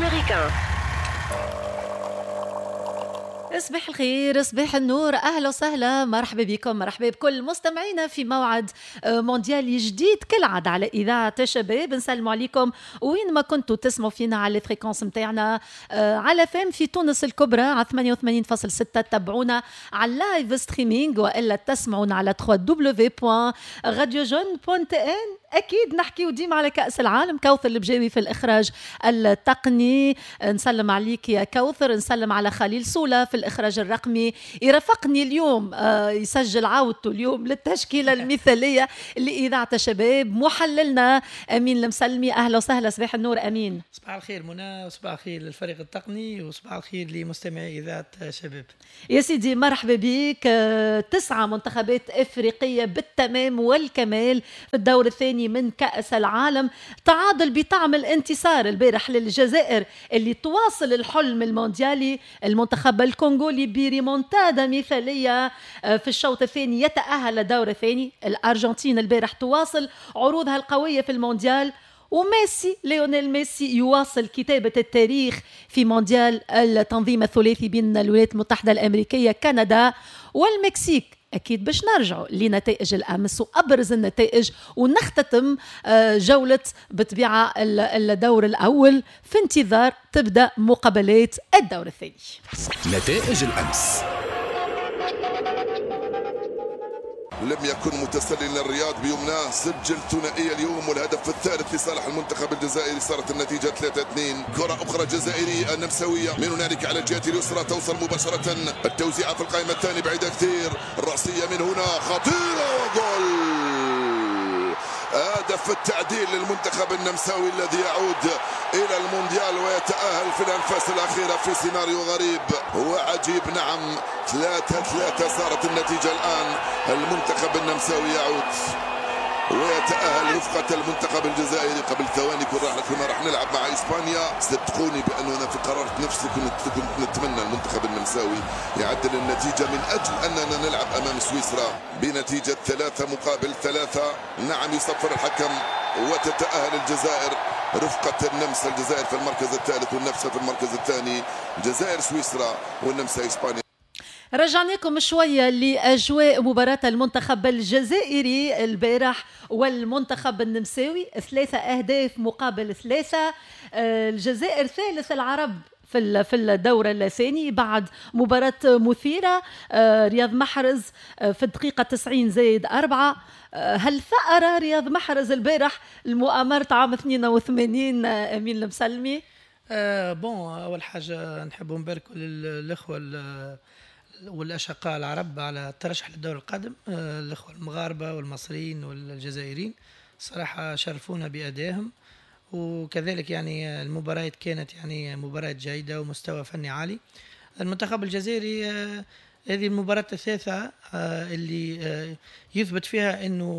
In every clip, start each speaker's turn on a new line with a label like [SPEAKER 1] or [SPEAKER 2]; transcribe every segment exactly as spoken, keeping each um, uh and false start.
[SPEAKER 1] américain.
[SPEAKER 2] صباح الخير، صباح النور، اهلا وسهلا، مرحبا بكم، مرحبا بكل مستمعينا في موعد مونديالي جديد كالعادة على اذاعة الشباب. نسلموا عليكم وين ما كنتوا تسمعوا فينا على ال fréquences نتاعنا على F M في تونس الكبرى على ثمانية وثمانين فاصل ستة، تبعونا على ال live streaming والا تسمعونا على دبليو دبليو دبليو دوت راديو جون دوت تي ان. اكيد نحكيو ديما على كاس العالم. كوثر البجاوي في الاخراج التقني، نسلم عليك يا كوثر، نسلم على خليل سوله في الاخراج الرقمي، يرافقني اليوم يسجل عودته اليوم للتشكيله المثالية لاذاعة الشباب محللنا امين المسلمي. اهلا وسهلا، صباح النور امين.
[SPEAKER 3] صباح الخير منى، وصباح الخير للفريق التقني، وصباح الخير لمستمعي اذاعة الشباب.
[SPEAKER 2] يا سيدي مرحبا بك. تسعة منتخبات افريقية بالتمام والكمال في الدور الثاني من كأس العالم. تعادل بطعم الانتصار البارح للجزائر اللي تواصل الحلم المونديالي. المنتخب الكونغولي بريمونتادا مثالية في الشوط الثاني يتأهل للدور الثاني. الأرجنتين البارح تواصل عروضها القوية في المونديال، وميسي ليونيل ميسي يواصل كتابة التاريخ في مونديال التنظيم الثلاثي بين الولايات المتحدة الأمريكية، كندا والمكسيك. أكيد باش نرجعوا لنتائج الأمس وأبرز النتائج ونختتم جولة بطبيعة الدور الأول في انتظار تبدأ مقابلات الدور الثاني.
[SPEAKER 4] نتائج الأمس.
[SPEAKER 5] لم يكن متسلل الرياض بيمناه، سجل ثنائية اليوم والهدف الثالث لصالح المنتخب الجزائري. صارت النتيجة ثلاثة اثنين. كرة أخرى جزائرية النمساوية من هنالك على الجهة اليسرى، توصل مباشرة التوزيعة في القائمة الثانية بعيدة كثير، الرأسية من هنا خطيرة وجول. هدف التعديل للمنتخب النمساوي الذي يعود إلى المونديال ويتأهل في الأنفاس الأخيرة في سيناريو غريب وعجيب. نعم ثلاثة ثلاثة صارت النتيجة الآن. المنتخب النمساوي يعود ويتأهل رفقة المنتخب الجزائري. قبل ثواني كنا راح نلعب مع إسبانيا، صدقوني بأنه أنا في قرارة نفسي كنت كنت نتمنى المنتخب النمساوي يعدل النتيجة من أجل أننا نلعب أمام سويسرا بنتيجة ثلاثة مقابل ثلاثة. نعم يصفر الحكم وتتأهل الجزائر رفقة النمسا. الجزائر في المركز الثالث والنمسا في المركز الثاني. الجزائر سويسرا والنمسا إسبانيا.
[SPEAKER 2] رجعناكم شوية لأجواء مباراة المنتخب الجزائري البارح والمنتخب النمساوي، ثلاثة أهداف مقابل ثلاثة. الجزائر ثالث العرب في في الدور الثاني بعد مباراة مثيرة. رياض محرز في الدقيقة تسعين زائد أربعة. هل ثأر رياض محرز البارح المؤامرة عام اثنين وثمانين أمين المسلمي؟
[SPEAKER 3] أه bon، أول حاجة نحب نبارك للإخوة والأشقاء العرب على الترشح للدور القادم، الأخوة المغاربة والمصريين والجزائريين صراحة شرفونا بأدائهم، وكذلك يعني المباريات كانت يعني مباراة جيدة ومستوى فني عالي. المنتخب الجزائري هذه المباراة الثالثة اللي يثبت فيها أنه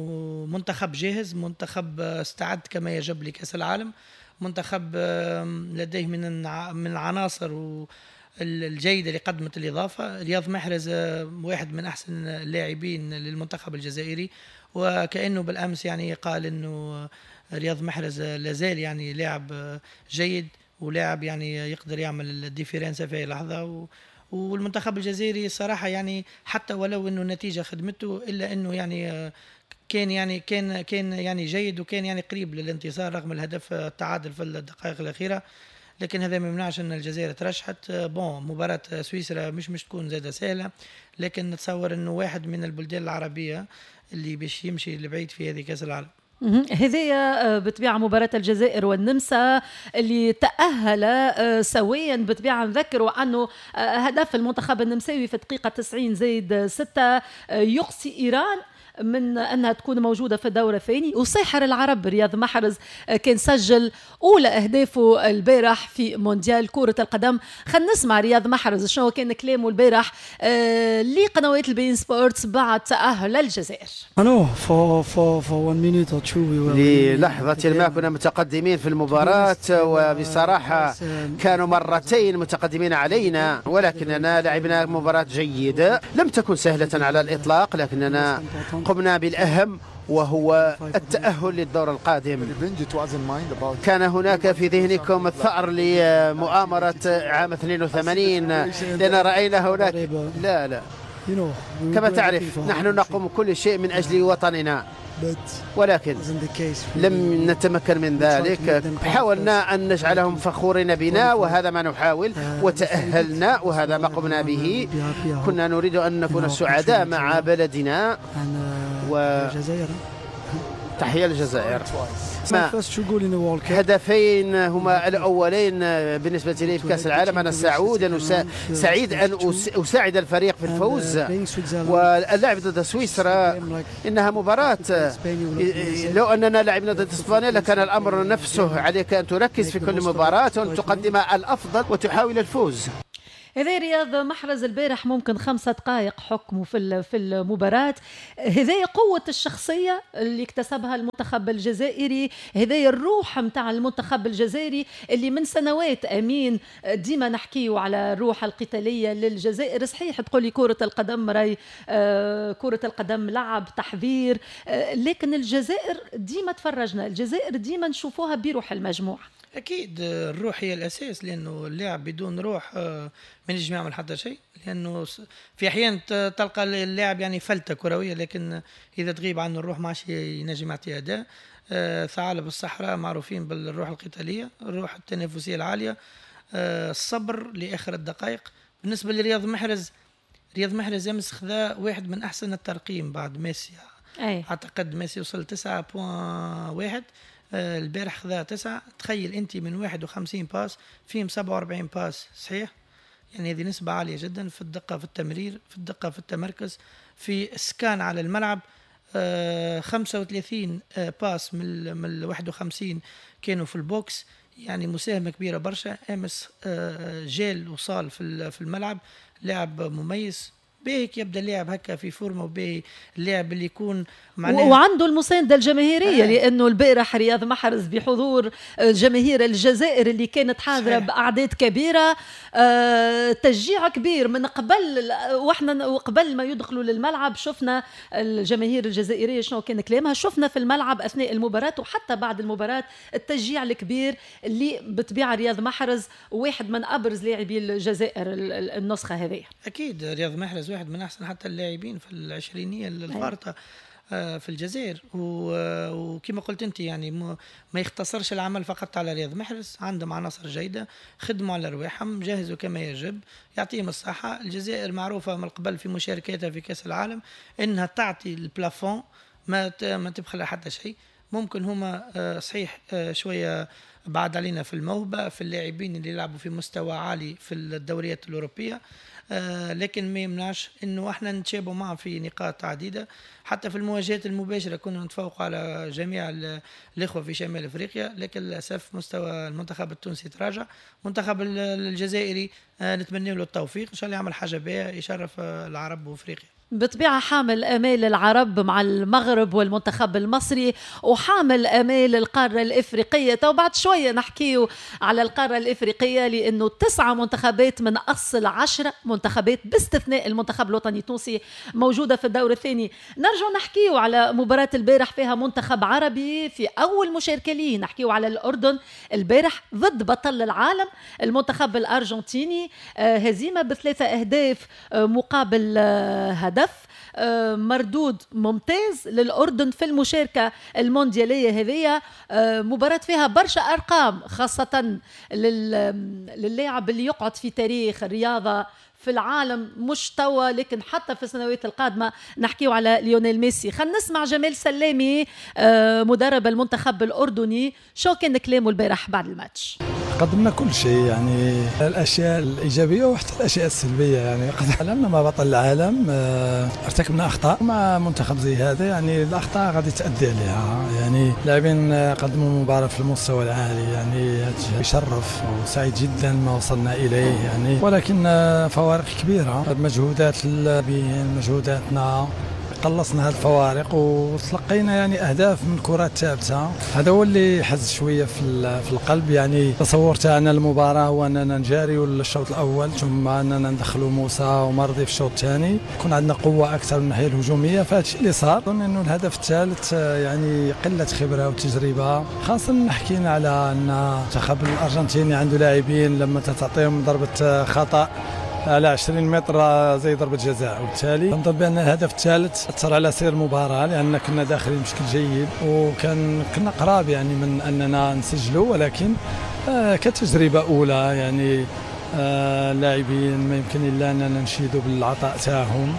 [SPEAKER 3] منتخب جاهز، منتخب استعد كما يجب لكأس العالم، منتخب لديه من من العناصر و الجيدة اللي قدمت الإضافة. رياض محرز واحد من أحسن اللاعبين للمنتخب الجزائري، وكأنه بالأمس يعني قال أنه رياض محرز لازال يعني لاعب جيد ولاعب يعني يقدر يعمل ال différence في أي لحظة. و والمنتخب الجزائري صراحة يعني حتى ولو أنه النتيجة خدمته، إلا أنه يعني كان يعني كان كان يعني جيد وكان يعني قريب للانتصار رغم الهدف التعادل في الدقائق الأخيرة، لكن هذا ما يمنعش ان الجزائر ترشحت. bon مباراة سويسرا مش مش تكون زادة سهلة، لكن نتصور انه واحد من البلدان العربية اللي باش يمشي لبعيد في هذه كأس العالم.
[SPEAKER 2] هذه بطبيعة مباراة الجزائر والنمسا اللي تأهل سويا. بطبيعة نذكروا أنه هدف المنتخب النمساوي في الدقيقة تسعين زائد ستة يقصي إيران من أنها تكون موجودة في الدور الثاني. وساحر العرب رياض محرز كان سجل أولى أهدافه البارح في مونديال كرة القدم. خلينا نسمع رياض محرز شنو كان كلامه البارح لقنوات البين سبورتس بعد تأهل الجزائر.
[SPEAKER 6] للحظة ما كنا متقدمين في المباراة، وبصراحة كانوا مرتين متقدمين علينا، ولكننا لعبنا مباراة جيدة لم تكن سهلة على الإطلاق، لكننا قمنا بالأهم وهو التأهل للدور القادم. كان هناك في ذهنكم الثأر لمؤامرة عام اثنين وثمانين لأن رأينا هناك. لا لا، كما تعرف نحن نقوم كل شيء من أجل وطننا، ولكن لم نتمكن من ذلك. حاولنا أن نجعلهم فخورين بنا، وهذا ما نحاول، وتأهلنا وهذا ما قمنا به. كنا نريد أن نكون سعداء مع بلدنا، و تحية الجزائر. هدفين هما الأولين بالنسبة لي في كأس العالم. أنا سعود أن سعيد أن أساعد الفريق في الفوز، واللعب ضد سويسرا إنها مباراة. لو أننا لعبنا ضد إسبانيا لكان الأمر نفسه. عليك أن تركز في كل مباراة وأن تقدم الأفضل وتحاول الفوز.
[SPEAKER 2] هذا رياض محرز البارح ممكن خمسة دقائق حكمه في في المباراة. هذه قوة الشخصية اللي اكتسبها المنتخب الجزائري، هذه الروح متاع المنتخب الجزائري اللي من سنوات أمين ديما نحكيو على الروح القتالية للجزائر. صحيح تقولي كرة القدم راي، كرة القدم لعب تحذير، لكن الجزائر ديما تفرجنا، الجزائر ديما نشوفوها بروح المجموعة.
[SPEAKER 3] أكيد الروح هي الأساس، لأنه اللاعب بدون روح ما ينجم يعمل حتى شيء، لأنه في أحيان تلقى اللاعب يعني فلتة كروية، لكن إذا تغيب عنه الروح ما عادش ينجم يعطي أداء. ثعالب الصحراء معروفين بالروح القتالية، الروح التنافسية العالية، الصبر لآخر الدقائق. بالنسبة لرياض محرز، رياض محرز أمس خذا واحد من أحسن الترقيم بعد ميسي. أي. أعتقد ميسي وصل تسعة فاصلة واحد، البارح خذا تسعة. تخيل انت من واحد وخمسين passe فيهم سبعة وأربعين passe صحيح، يعني هذه نسبة عالية جدا في الدقة في التمرير، في الدقة في التمركز، في السكان على الملعب. آه خمسة وثلاثين آه passe من من واحد وخمسين كانوا في ال box، يعني مساهمة كبيرة برشا. امس آه جال وصال في في الملعب، لاعب مميز. باهي يبدا اللاعب هكا في فورمه، وباهي اللاعب اللي يكون
[SPEAKER 2] معناه وعنده المساندة الجماهيرية. آه. لانه البارح رياض محرز بحضور جماهير الجزائر اللي كانت حاضره باعداد كبيرة، آه تشجيع كبير من قبل، واحنا وقبل ما يدخلوا للملعب شفنا الجماهير الجزائرية شنو كان كلامها، شفنا في الملعب اثناء المباراة وحتى بعد المباراة التشجيع الكبير اللي بطبيعة رياض محرز واحد من ابرز لاعبي الجزائر النسخة هذه.
[SPEAKER 3] اكيد رياض محرز واحد من احسن حتى اللاعبين في العشرينيه الفارطه في الجزائر، وكما قلت انت يعني ما يختصرش العمل فقط على رياض محرز، عندهم عناصر جيدة، خدموا على رواحهم، جهزوا كما يجب، يعطيهم الصحة. الجزائر معروفة من قبل في مشاركاتها في كاس العالم انها تعطي ال plafond، ما ما تبخل حتى شيء. ممكن هما صحيح شوية بعد علينا في الموهبة، في اللاعبين اللي يلعبوا في مستوى عالي في الدوريات الاوروبية، آه لكن ما يمنعش انه احنا نتشابهوا معهم في نقاط عديدة. حتى في المواجهات المباشرة كنا نتفوق على جميع الاخوة في شمال افريقيا، لكن للاسف مستوى المنتخب التونسي تراجع. المنتخب الجزائري آه نتمنى له التوفيق، ان شاء الله يعمل حاجة باهيه يشرف العرب وافريقيا.
[SPEAKER 2] بطبيعة حامل آمال العرب مع المغرب والمنتخب المصري، وحامل آمال القارة الإفريقية. تو بعد شوية نحكيو على القارة الإفريقية، لأنه تسعة منتخبات من أصل عشرة منتخبات باستثناء المنتخب الوطني التونسي موجودة في الدور الثاني. نرجع نحكيو على مباراة البارح فيها منتخب عربي في أول مشاركة ليه. نحكيو على الأردن البارح ضد بطل العالم المنتخب الأرجنتيني، هزيمة بثلاثة أهداف مقابل هدف، مردود ممتاز للأردن في المشاركة المونديالية هذه. مباراة فيها برشا أرقام، خاصة للاعب اللي يقعد في تاريخ الرياضة في العالم، مش توا لكن حتى في السنوات القادمة. نحكيو على ليونيل ميسي. خلينا نسمع جمال سلامي مدرب المنتخب الأردني، شو كان كلامه البارح بعد الماتش.
[SPEAKER 1] قدمنا كل شيء، يعني الاشياء الايجابية وحتى الاشياء السلبية. يعني قد لعبنا مع بطل العالم، ارتكبنا اخطاء مع منتخب زي هذا، يعني الاخطاء غادي تؤدي عليها. يعني لاعبين قدموا مباراة في المستوى العالي، يعني يشرف وسعيد جدا ما وصلنا اليه يعني، ولكن فوارق كبيرة، مجهودات اللاعبين، مجهوداتنا. قلصنا هذه الفوارق وتلقينا يعني اهداف من كرات ثابتة. هذا هو اللي حز شوية في في القلب. يعني تصور تاعنا المباراة هو اننا نجاريو الشوط الاول، ثم اننا ندخلوا موسى ومرضي في الشوط الثاني، يكون عندنا قوة اكثر من الناحية الهجومية. فهذا الشيء اللي صار. اظن انه الهدف الثالث يعني قلة خبره وتجربه، خاصة حكينا على ان المنتخب الارجنتيني عنده لاعبين لما تعطيهم ضربه خطا على عشرين متر زي ضربة جزاء، وبالتالي نظن بأن الهدف الثالث أثر على سير المباراة، لأن كنا داخلين بشكل جيد وكان كنا قراب يعني من أننا نسجلوا، ولكن كتجربة أولى يعني اللاعبين ما يمكن إلا أننا نشيدوا بالعطاء تاعهم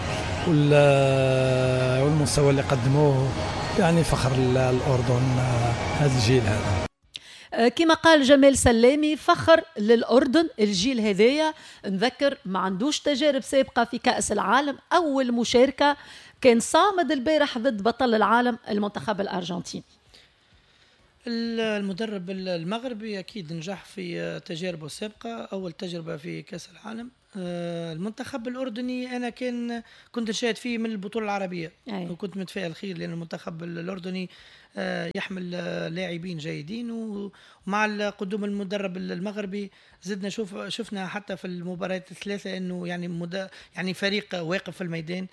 [SPEAKER 1] والمستوى اللي قدموه، يعني فخر الأردن هذا الجيل هذا.
[SPEAKER 2] كما قال جمال سلامي، فخر للأردن الجيل هذايا. نذكر ما عندوش تجارب سابقة في كأس العالم، أول مشاركة كان صامد البارح ضد بطل العالم المنتخب الأرجنتيني.
[SPEAKER 3] المدرب المغربي أكيد نجح في تجاربه السابقة، أول تجربة في كأس العالم. المنتخب الأردني أنا كان كنت نشاهد فيه من البطولة العربية. أي. وكنت متفائل خير، لأن المنتخب الأردني يحمل لاعبين جيدين، ومع قدوم المدرب المغربي زدنا شوف شفنا حتى في المباريات الثلاثة أنه يعني مد... يعني فريق واقف في الميدان،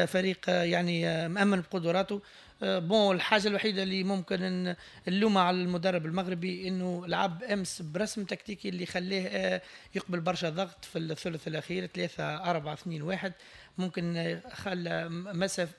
[SPEAKER 3] فريق يعني مأمن بقدراته. bon الحاجة الوحيدة اللي ممكن نلومها على المدرب المغربي انه لعب امس برسم تكتيكي اللي خلاه يقبل برشا ضغط في الثلث الاخير ثلاثة أربعة اثنين واحد، ممكن خلى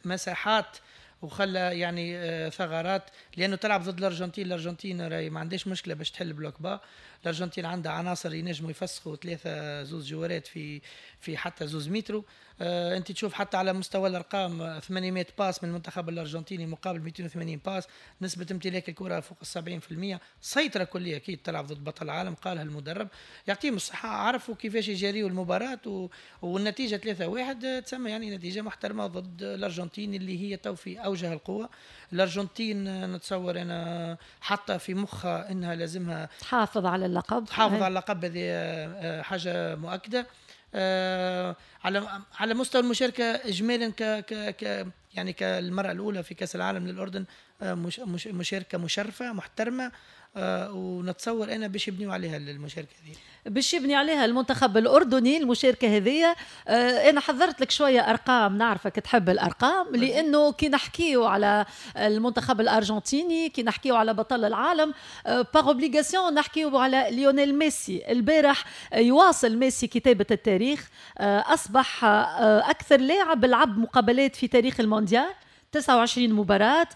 [SPEAKER 3] مساحات وخلى يعني ثغرات، لانه تلعب ضد الارجنتين. الارجنتين راهي ما عندهاش مشكلة باش تحل bloc bas، الارجنتين عندها عناصر ينجموا يفسخوا ثلاثة زوز جوارات في في حتى زوز مترو. آه انت تشوف حتى على مستوى الارقام ثمانمائة passe من المنتخب الارجنتيني مقابل مئتين وثمانين passe، نسبه امتلاك الكره فوق سبعين بالمئة، سيطرة كليه. اكيد تلعب ضد بطل العالم، قالها المدرب، يعطيهم الصحة، عرفوا كيفاش يجاريوا المباراة و... والنتيجة ثلاثة واحد تسمى يعني نتيجة محترمه ضد الارجنتين اللي هي تو في اوجه القوة. الارجنتين نتصور انا حاطه في مخها انها لازمها
[SPEAKER 2] تحافظ على اللقب،
[SPEAKER 3] تحافظ على اللقب، هذه حاجة مؤكدة. آه على على مستوى المشاركة اجمالا ك ك ك يعني كالمره الاولى في كاس العالم للاردن، آه مش مش مشاركة مشرفة محترمه، آه ونتصور انا باش يبنيوا عليها المشاركة هذه،
[SPEAKER 2] باش يبني عليها المنتخب الاردني المشاركة هذه. آه انا حضرت لك شوية ارقام، نعرفك تحب الارقام، لانه كي نحكيو على المنتخب الارجنتيني، كي نحكيو على بطل العالم، par obligation نحكيو على ليونيل ميسي. البارح يواصل ميسي كتابه التاريخ، آه اصبح آه اكثر لاعب لعب مقابلات في تاريخ المونديال، تسعة وعشرين مباراة،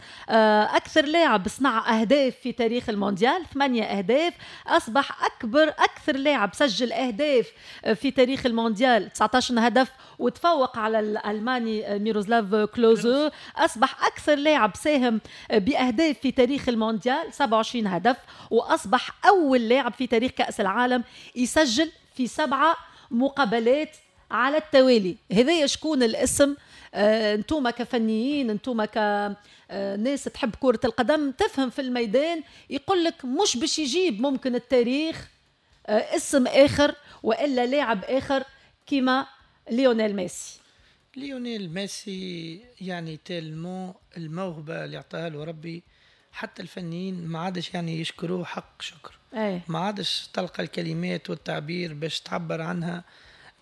[SPEAKER 2] أكثر لاعب صنع أهداف في تاريخ المونديال، ثمانية أهداف، أصبح أكبر أكثر لاعب سجل أهداف في تاريخ المونديال، تسعة عشر هدف، وتفوق على الألماني ميروسلاف كلوزو. أصبح أكثر لاعب ساهم بأهداف في تاريخ المونديال، سبعة وعشرين هدف، وأصبح أول لاعب في تاريخ كأس العالم يسجل في سبعة مقابلات على التوالي. هذا شكون الاسم؟ آه، انتوما كفنيين، انتوما كناس تحب كرة القدم، تفهم في الميدان، يقول لك مش باش يجيب ممكن التاريخ آه، اسم آخر وإلا لاعب آخر كيما ليونيل ميسي.
[SPEAKER 3] ليونيل ميسي يعني tellement الموهبة اللي اعطاها له ربي، حتى الفنيين ما عادش يعني يشكروه حق شكر.
[SPEAKER 2] أي.
[SPEAKER 3] ما عادش تلقى الكلمات والتعبير باش تعبر عنها،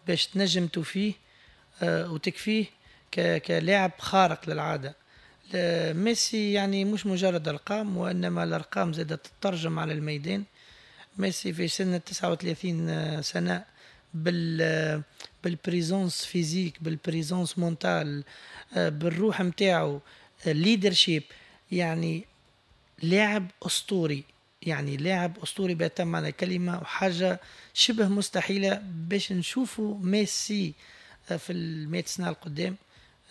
[SPEAKER 3] باش تنجم توفيه آه وتكفيه كلاعب خارق للعادة. ميسي يعني مش مجرد أرقام، وإنما الأرقام زادت تترجم على الميدان. ميسي في سن تسعة وثلاثين سنة بال بال présence physique، بال présence mentale، بالروح متاعو، leadership، يعني لاعب أسطوري، يعني لاعب أسطوري بأتم معنى الكلمة، وحاجة شبه مستحيلة باش نشوفوا ميسي في المئة سنة القدام.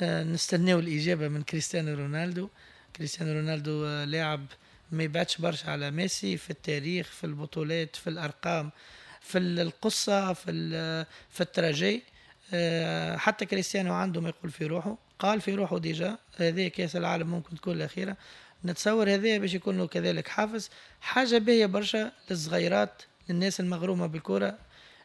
[SPEAKER 3] نستناو الإجابة من كريستيانو رونالدو. كريستيانو رونالدو لاعب ما يبعدش برشا على ميسي في التاريخ، في البطولات، في الأرقام، في القصة، في في ال trajet. حتى كريستيانو عنده ما يقول في روحه، قال في روحه déjà هذه كأس العالم ممكن تكون الأخيرة. نتصور هذا باش يكون له كذلك حافز، حاجة باهية برشا للصغيرات، للناس المغرومة بالكرة،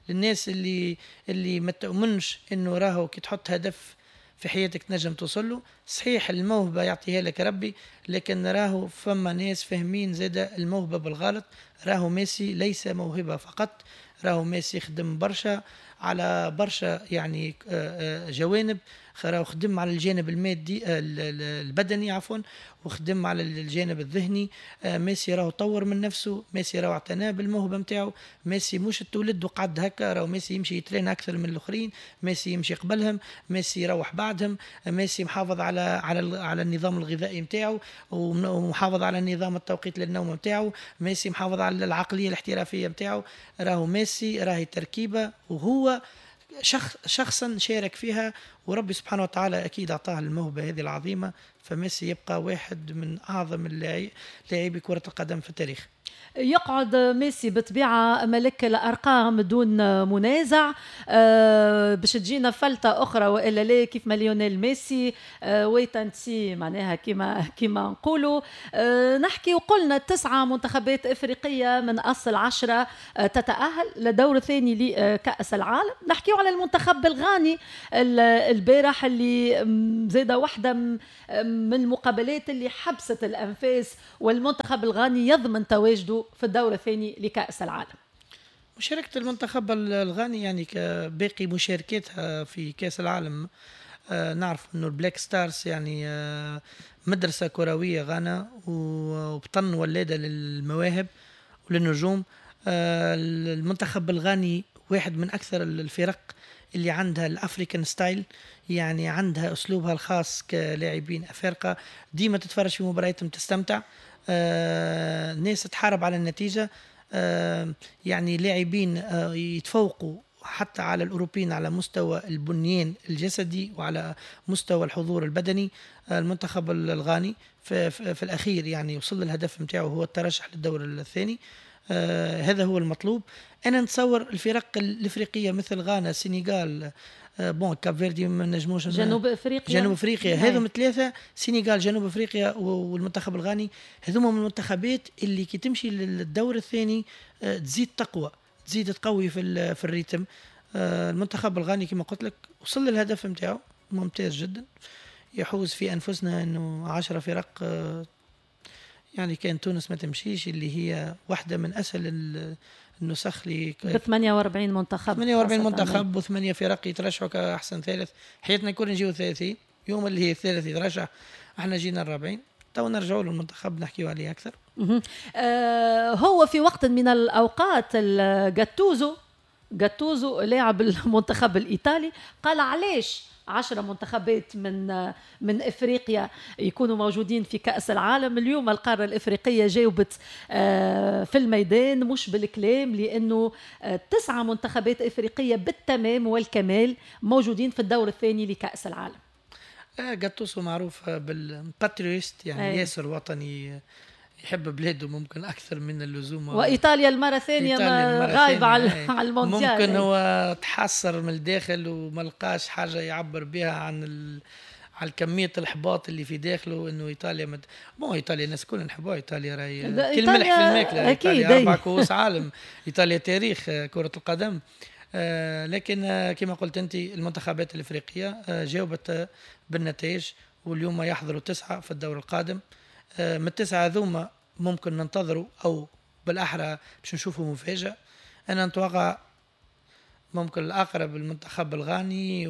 [SPEAKER 3] للناس اللي اللي ما تؤمنش انه راهو كي تحط هدف في حياتك تنجم توصل له. صحيح الموهبة يعطيها لك ربي، لكن راهو فما ناس فاهمين زادة الموهبة بالغلط. راهو ميسي ليس موهبة فقط، راهو ميسي خدم برشا على برشا يعني جوانب، راهو خدم على الجانب المادي البدني عفوا، وخدم على الجانب الذهني. ميسي راهو طور من نفسه، ميسي راهو اعتنى بالموهبه نتاعو، ميسي مش تولد وقعد هكا، راهو ميسي يمشي يترين اكثر من الاخرين، ميسي يمشي قبلهم، ميسي يروح بعدهم، ميسي محافظ على على على النظام الغذائي نتاعو، ومحافظ على النظام التوقيت للنوم نتاعو، ميسي محافظ على العقلية الاحترافية نتاعو. راهو ميسي راهي تركيبه وهو شخص شخصا شارك فيها، وربي سبحانه وتعالى اكيد اعطاه الموهبة هذه العظيمة. فميسي يبقى واحد من اعظم لاعبي كره القدم في التاريخ.
[SPEAKER 2] يقعد ميسي بطبيعة ملك الأرقام دون منازع. أه باش تجينا فلتة أخرى وإلا لا كيف ما ليونيل ميسي أه wait and see معناها كما كما نقولوا. أه نحكي وقلنا تسعة منتخبات إفريقية من أصل عشرة أه تتأهل لدور ثاني لكأس العالم. نحكي على المنتخب الغاني البارح اللي زادة واحدة من المقابلات اللي حبست الأنفاس، والمنتخب الغاني يضمن تواجده في الدور الثاني لكأس العالم.
[SPEAKER 3] مشاركة المنتخب الغاني يعني كباقي مشاركاتها في كأس العالم، آه نعرف انه ال Black Stars يعني آه مدرسة كروية غانا، وبطن ولادة للمواهب وللنجوم. آه المنتخب الغاني واحد من أكثر الفرق اللي عندها ال African style، يعني عندها أسلوبها الخاص كلاعبين أفارقة. ديما تتفرج في مبارياتهم تستمتع، آه، ناس تحارب على النتيجة، آه، يعني لاعبين آه، يتفوقوا حتى على الأوروبيين على مستوى البنيان الجسدي وعلى مستوى الحضور البدني. آه، المنتخب الغاني في, في, في الأخير يعني وصل للهدف متاعه، هو الترشح للدور الثاني. آه هذا هو المطلوب. أنا نتصور الفرق الإفريقية مثل غانا، السنغال، آه bon كاب فيردي ما نجموش،
[SPEAKER 2] جنوب افريقيا،
[SPEAKER 3] جنوب افريقيا، هذوم ثلاثة، سنغال، جنوب افريقيا والمنتخب الغاني، هذوما من المنتخبات اللي كي تمشي للدور الثاني آه تزيد تقوى، تزيد تقوي في في ال rythme. آه المنتخب الغاني كما قلت لك وصل للهدف نتاعو، ممتاز جدا. يحوز في انفسنا انه عشرة فرق، آه يعني كان تونس ما تمشيش، اللي هي واحدة من أسهل النسخ ل
[SPEAKER 2] ب ثمانية وأربعين منتخب،
[SPEAKER 3] ثمانية وأربعين منتخب وثمانية فرق يترشحوا كأحسن ثالث. حياتنا كل نجيو ثلاثين، يوم اللي هي الثالث يترشح، احنا جينا الرابعين. تو نرجعوا للمنتخب نحكيو عليه أكثر.
[SPEAKER 2] آه هو في وقت من الأوقات جاتوزو جاتوزو لاعب المنتخب الإيطالي قال علاش عشرة منتخبات من من افريقيا يكونوا موجودين في كأس العالم. اليوم القارة الافريقية جاوبت في الميدان مش بالكلام، لانه تسعة منتخبات افريقية بالتمام والكمال موجودين في الدور الثاني لكأس العالم.
[SPEAKER 3] جاتوسو معروف بال patriote، يعني أي. ياسر وطني، يحب بلاده ممكن اكثر من اللزوم.
[SPEAKER 2] وايطاليا المرة الثانية غايبة على المونديال،
[SPEAKER 3] ممكن هو تحسر من الداخل وما لقاش حاجة يعبر بها عن ال... على كمية الاحباط اللي في داخله، انه ايطاليا مد... bon ايطاليا الناس كلنا نحبوها، ايطاليا راهي كل ملح في الماكلة، ايطاليا اربع كؤوس عالم، ايطاليا تاريخ كره القدم. آه لكن آه كما قلت انت المنتخبات الافريقية آه جاوبت بالنتائج، واليوم يحضروا تسعة في الدور القادم. من التسعة ذوما ممكن ننتظروا أو بالأحرى باش نشوفوا مفاجأة. أنا نتوقع ممكن الأقرب المنتخب الغاني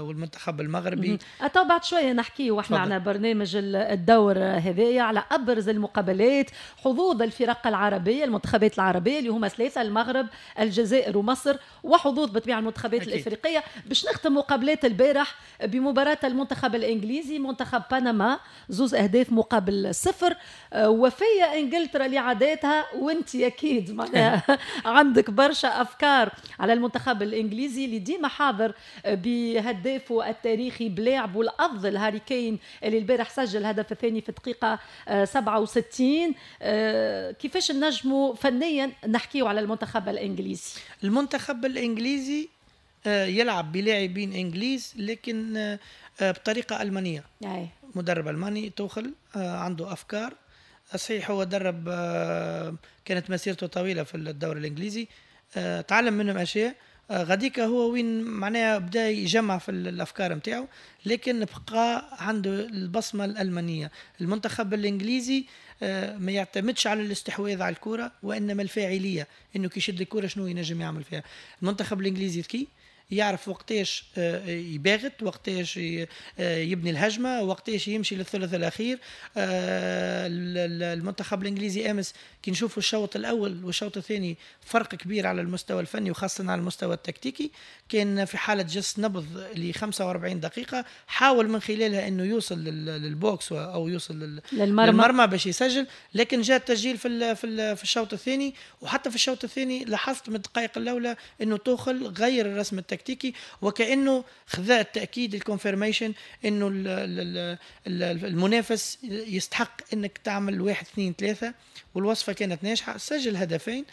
[SPEAKER 3] والمنتخب المغربي.
[SPEAKER 2] أتو بعد شوية نحكي وإحنا على برنامج الدور هذايا على أبرز المقابلات، حظوظ الفرق العربية، المنتخبات العربية اللي هما ثلاثة، المغرب، الجزائر ومصر، وحظوظ بطبيعة المنتخبات أكيد. الإفريقية. باش نختم مقابلات البارح بمباراة المنتخب الإنجليزي منتخب بنما، زوز أهداف مقابل صفر، وفية إنجلترا لعاداتها، وانت أكيد معناها عندك برشا أفكار على المنتخب الانجليزي اللي ديما حاضر بهدافه التاريخي بلاعبه الافضل هاري كين اللي البارح سجل الهدف الثاني في الدقيقة سبعة وستين. كيفاش نجموا فنيا نحكيو على المنتخب الانجليزي؟
[SPEAKER 3] المنتخب الانجليزي يلعب بلاعبين انجليز لكن بطريقة المانية. أي. مدرب الماني توخل عنده افكار، صحيح هو درب، كانت مسيرته طويلة في الدوري الانجليزي، تعلم منهم اشياء. غاديكا هو وين معناها بدا يجمع في الافكار نتاعو، لكن بقى عنده البصمة الالمانية. المنتخب الانجليزي ما يعتمدش على الاستحواذ على الكره وانما الفاعلية، انه كي يشد الكره شنو ينجم يعمل فيها. المنتخب الانجليزي ذكي، يعرف وقتاش يباغت، وقتاش يبني الهجمة، وقتاش يمشي للثلث الاخير. المنتخب الانجليزي امس كي نشوفوا الشوط الاول والشوط الثاني فرق كبير على المستوى الفني وخاصة على المستوى التكتيكي. كان في حاله جس نبض ل خمسة وأربعين دقيقة، حاول من خلالها انه يوصل لل box او يوصل للمرمى, للمرمى باش يسجل، لكن جاء التسجيل في في الشوط الثاني. وحتى في الشوط الثاني لاحظت من الدقائق الاولى انه توخل غير الرسم التكتيكي، وكانه خذا التاكيد ال confirmation انه المنافس يستحق انك تعمل واحد اثنين ثلاثة، والوصفه كانت ناجحة، سجل هدفين.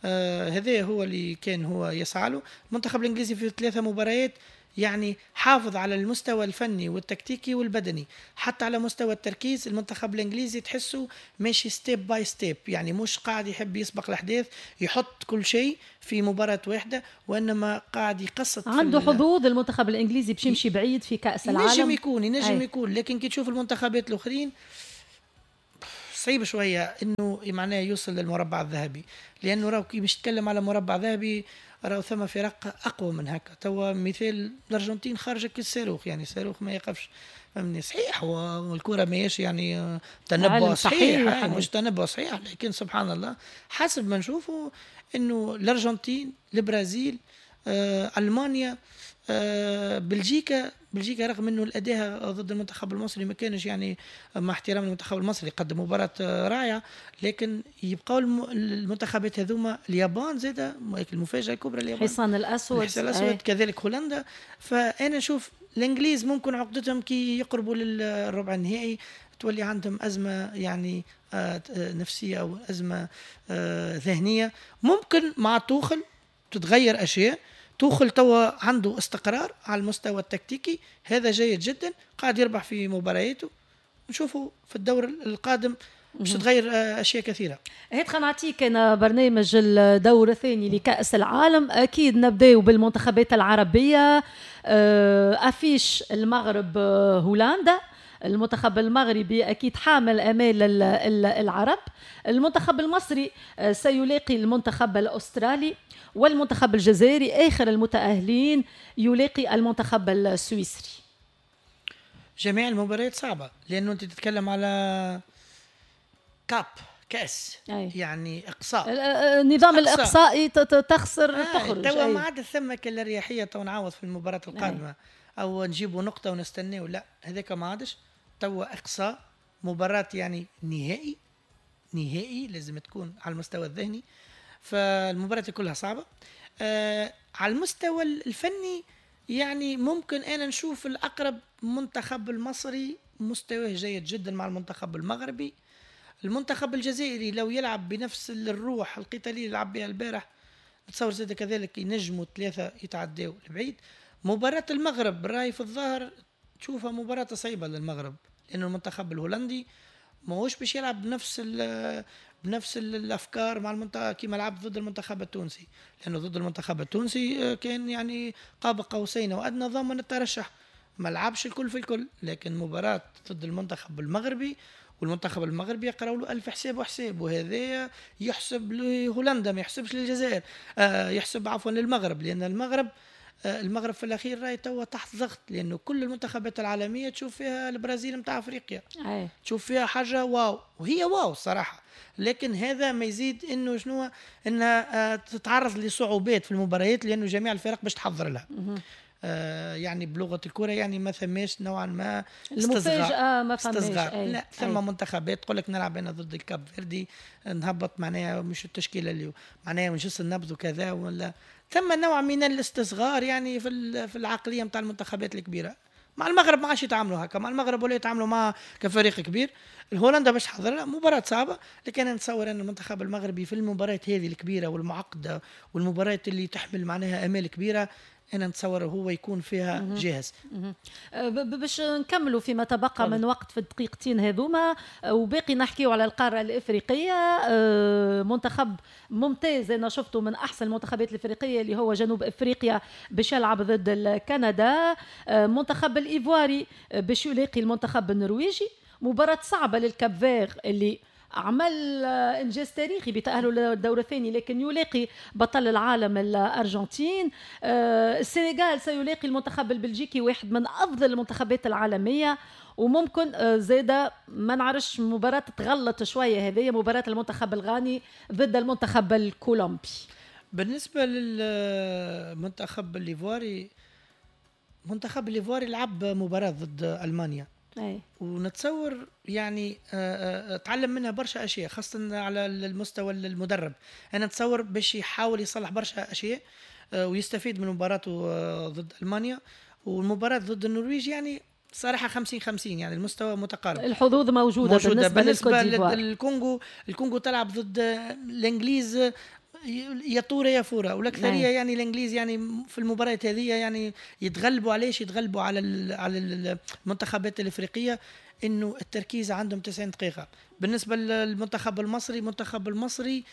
[SPEAKER 3] آه هذا هو اللي كان هو يسعى له. المنتخب الانجليزي في ثلاثة مباريات يعني حافظ على المستوى الفني والتكتيكي والبدني، حتى على مستوى التركيز المنتخب الانجليزي تحسه ماشي step by step، يعني مش قاعد يحب يسبق الاحداث يحط كل شيء في مباراة واحدة، وانما قاعد يقسط.
[SPEAKER 2] عنده حظوظ المنتخب الانجليزي باش يمشي بعيد في كاس العالم،
[SPEAKER 3] ينجم يكون ينجم يكون، لكن كي تشوف المنتخبات الاخرين صعيب شوية انه معناه يوصل للمربع الذهبي، لانه راهو كي باش تتكلم على مربع ذهبي راهو ثم فرق اقوى من هكا. توا مثال الارجنتين خارجه كالصاروخ، يعني الصاروخ ما يقفش، فهمني؟ صحيح والكره ماهيش يعني تنبؤ صحيح, صحيح مش تنبؤ صحيح، لكن سبحان الله حسب ما نشوفوا انه الارجنتين، البرازيل، آه، المانيا، آه، بلجيكا بلجيكا رغم انه الاداء ضد المنتخب المصري ما كانش يعني مع احترام المنتخب المصري قدم مباراة رائعة، لكن يبقاو المنتخبات هذوما. اليابان زاده المفاجاة الكبرى، اليابان
[SPEAKER 2] الحصان الاسود،
[SPEAKER 3] الحصان الاسود كذلك هولندا. فانا نشوف الانجليز ممكن عقدتهم كي يقربوا للربع النهائي تولي عندهم ازمة يعني نفسية او ازمة ذهنية، ممكن مع توخل تتغير اشياء. توخل توا عنده استقرار على المستوى التكتيكي، هذا جيد جدا، قاعد يربح في مبارياته، نشوفه في الدور القادم باش تتغير اشياء كثيرة.
[SPEAKER 2] هيك خلينا نعطيك انا برنامج الدور الثاني لكأس العالم. اكيد نبداو بالمنتخبات العربية. affiche المغرب هولندا، المنتخب المغربي أكيد حامل أمال العرب. المنتخب المصري سيلاقي المنتخب الأسترالي، والمنتخب الجزائري آخر المتأهلين يلاقي المنتخب السويسري.
[SPEAKER 3] جميع المباريات صعبة، لأنه أنت تتكلم على كاب كأس، أي. يعني إقصاء،
[SPEAKER 2] النظام الإقصائي تخسر آه تخرج.
[SPEAKER 3] توا ما عاد ثم كالأريحية تو نعوض في المباراة القادمة، أي. أو نجيبوا نقطة ونستناو، لا هذاك ما عادش. توا إقصاء مباراة يعني نهائي نهائي لازم تكون على المستوى الذهني، فالمباراة كلها صعبة. آه على المستوى الفني يعني ممكن أنا نشوف الأقرب منتخب المصري مستواه جيد جدا مع المنتخب المغربي. المنتخب الجزائري لو يلعب بنفس الروح القتالية اللي لعب بها البارح نتصور زاد كذلك ينجموا ثلاثة يتعداو لبعيد. مباراة المغرب راي في الظاهر تشوفها مباراة صعيبة للمغرب، لأنه المنتخب الهولندي ماهوش باش يلعب بنفس بنفس الافكار مع المنتخب كما لعب ضد المنتخب التونسي، لانه ضد المنتخب التونسي كان يعني قاب قوسين وادنى ضامن الترشح، ما لعبش الكل في الكل. لكن مباراة ضد المنتخب المغربي، والمنتخب المغربي يقراوا له ألف حساب وحساب، وهذا يحسب لهولندا ما يحسبش للجزائر، آه يحسب عفوا للمغرب، لان المغرب المغرب في الاخير راهي توا تحت ضغط، لانه كل المنتخبات العالمية تشوف فيها البرازيل نتاع افريقيا، أي. تشوف فيها حاجة واو، وهي واو الصراحة، لكن هذا ما يزيد انه شنو انها تتعرض لصعوبات في المباريات، لانه جميع الفرق باش تحضر لها. آه يعني بلغه الكره يعني ما ثماش نوعا ما
[SPEAKER 2] المفاجاة، ما فماش.
[SPEAKER 3] لا ثم منتخبات تقول لك نلعب انا ضد الكاب فيردي نهبط معناها مش التشكيلة اللي معناها مش النبض وكذا، ولا ثم نوع من الاستصغار يعني في في العقلية نتاع المنتخبات الكبيرة. مع المغرب ما عادش يتعاملوا هكا، مع المغرب ولا يتعاملوا مع كفريق كبير. الهولندا باش تحضر مباراة صعبة، لكن انا نتصور ان المنتخب المغربي في المباريات هذه الكبيرة والمعقده والمباريات اللي تحمل معناها امال كبيرة انا نتصور هو يكون فيها جاهز.
[SPEAKER 2] باش نكملوا فيما تبقى من وقت في الدقيقتين هذوما وباقي نحكيو على القارة الافريقية. منتخب ممتاز انا شفته من احسن المنتخبات الافريقية اللي هو جنوب افريقيا باش يلعب ضد كندا. منتخب الايفواري باش يلاقي المنتخب النرويجي، مباراة صعبة لل Cap-Vert اللي عمل انجاز تاريخي بتاهله للدور الثاني، لكن يلاقي بطل العالم الارجنتين. السنغال سيلاقي المنتخب البلجيكي، واحد من افضل المنتخبات العالمية، وممكن زاده ما نعرفش مباراة تغلط شوية هذه مباراة المنتخب الغاني ضد المنتخب الكولومبي.
[SPEAKER 3] بالنسبة للمنتخب الايفواري، منتخب الايفواري لعب مباراة ضد المانيا. أي. ونتصور يعني تعلم منها برشا اشياء، خاصة على المستوى المدرب. انا نتصور باش يحاول يصلح برشا اشياء ويستفيد من مباراته ضد المانيا والمباراة ضد النرويج. يعني صراحة خمسين خمسين، يعني المستوى متقارب،
[SPEAKER 2] الحظوظ موجودة, موجودة.
[SPEAKER 3] بالنسبة, بالنسبة للكونغو، الكونغو تلعب ضد الانجليز يا طوره يا فورة، والاكثريه يعني الانجليز يعني في المباريات هذه يعني يتغلبوا. علاش يتغلبوا على على المنتخبات الافريقية؟ انه التركيز عندهم تسعين دقيقة. بالنسبة للمنتخب المصري، المنتخب المصري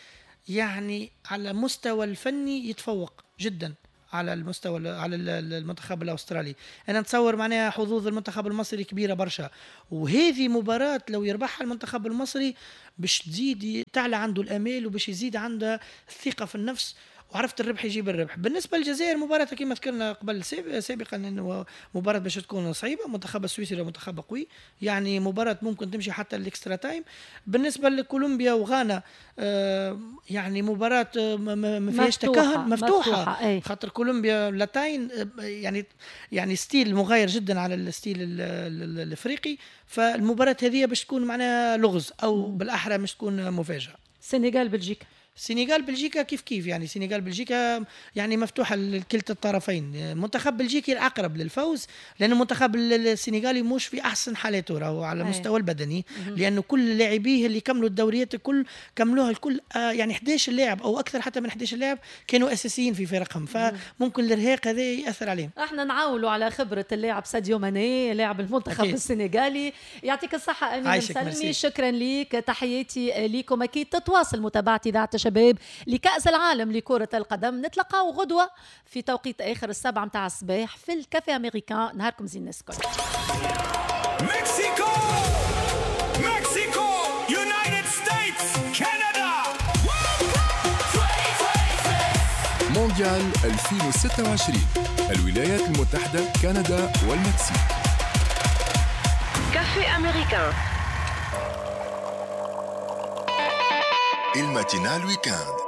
[SPEAKER 3] يعني على مستوى الفني يتفوق جدا على المستوى على المنتخب الاسترالي. انا نتصور معناها حظوظ المنتخب المصري كبيرة برشا، وهذه مباراة لو يربحها المنتخب المصري باش تزيد تعلى عنده الامال وباش يزيد عنده الثقة في النفس، وعرفت الربح يجيب الربح. بالنسبة للجزائر مباراة كما ذكرنا قبل سابقا انه مباراة باش تكون صعيبة، منتخب السويسري منتخب قوي، يعني مباراة ممكن تمشي حتى ال extra time. بالنسبة لكولومبيا وغانا آه يعني مباراة ما فيهاش تكهن، مفتوحة, مفتوحة. خاطر كولومبيا لاتاين يعني يعني style مغاير جدا على ال style الافريقي، فالمباراه هذه باش تكون معناها لغز او بالاحرى مش تكون مفاجاة.
[SPEAKER 2] السنغال بلجيكا،
[SPEAKER 3] سنغال بلجيكا كيف كيف، يعني سنغال بلجيكا يعني مفتوحة لكلتا الطرفين. المنتخب بلجيكي الاقرب للفوز، لان المنتخب السنغالي مش في احسن حالاته راهو على المستوى البدني، لانه كل لاعبيه اللي كملوا الدوريات الكل كملوها الكل آه يعني احد عشر لاعب او اكثر حتى من احد عشر لاعب كانوا اساسيين في فرقهم، فممكن الارهاق هذا ياثر عليهم.
[SPEAKER 2] احنا نعاولوا على خبره اللاعب ساديو ماني لاعب المنتخب أكيد. السنغالي. يعطيك الصحة امين سلمي، شكرا ليك، تحياتي ليكم. اكيد تتواصل متابعه اذاعة شباب لكأس العالم لكرة القدم. نتلقاو غدوة في توقيت آخر السبعة متاع الصباح في ال Café Américain. نهاركم زين الناس الكل.
[SPEAKER 4] مكسيكو مكسيكو United States كندا مونديال ألفين وستة وعشرين، الولايات المتحدة، كندا والمكسيك.
[SPEAKER 7] Café Américain،
[SPEAKER 5] ال matinale week-end.